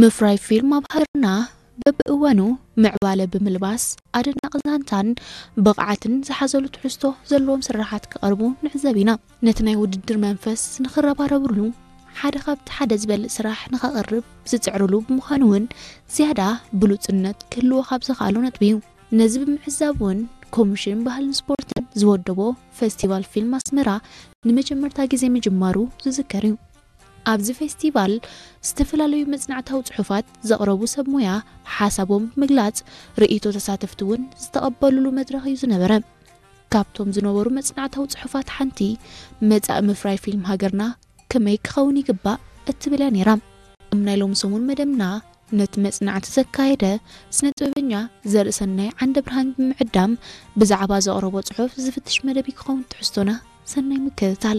ምፍራይ ፊልም ኣብ ሃገርና በብእዋኑ ምዕባለ ብምልባስ ኣደናቂ ዛንታን ብቕዓትን ዝሓዘሉ ትሕዝቶ ዘለዎም ስራሓት ክቐርቡ ንዕዘብ ኢና። ነቲ ናይ ውድድር መንፈስ ንኽረባረብሉ ሓደ ካብቲ ሓደ ዝበልእ ስራሕ ንኸቕርብ ዝጽዕርሉ ብምዃኑ እውን ዝያዳ ብሉጽነት ክህልዎ ካብ ዝኽኣሉ ነጥቢ እዩ። ነዚ ብምዕዛብ እውን ኮሚሽን ባህልን ስፖርትን ዝወደቦ ፈስቲቫል ፊልም ኣስመራ ንመጀመርታ ግዜ ምጅማሩ ዝዝከር እዩ። ኣብዚ ፌስቲቫል ዝተፈላለዩ መጽናዕታዊ ጽሑፋት ዘቕረቡ ሰብ ሞያ ሓሳቦም ምግላጽ፣ ርእይቶ ተሳተፍቲ እውን ዝተቐበሉሉ መድረኽ እዩ ዝነበረ። ካብቶም ዝነበሩ መጽናዕታዊ ጽሑፋት ሓንቲ መጻኢ ምፍራይ ፊልም ሃገርና ከመይ ክኸውን ይግባእ እትብል እያ ነይራ። እም ናይ ሎሚ ሰሙን መደብና ነቲ መጽናዕቲ ዘካየደ ስነ ጥበበኛ ዘርእሰናይ ዓንደ ብርሃን ብምዕዳም ብዛዕባ ዘቕረቦ ጽሑፍ ዝፍትሽ መደብ ክኸውን ትሕዝቶና። ሰናይ ምክትታል።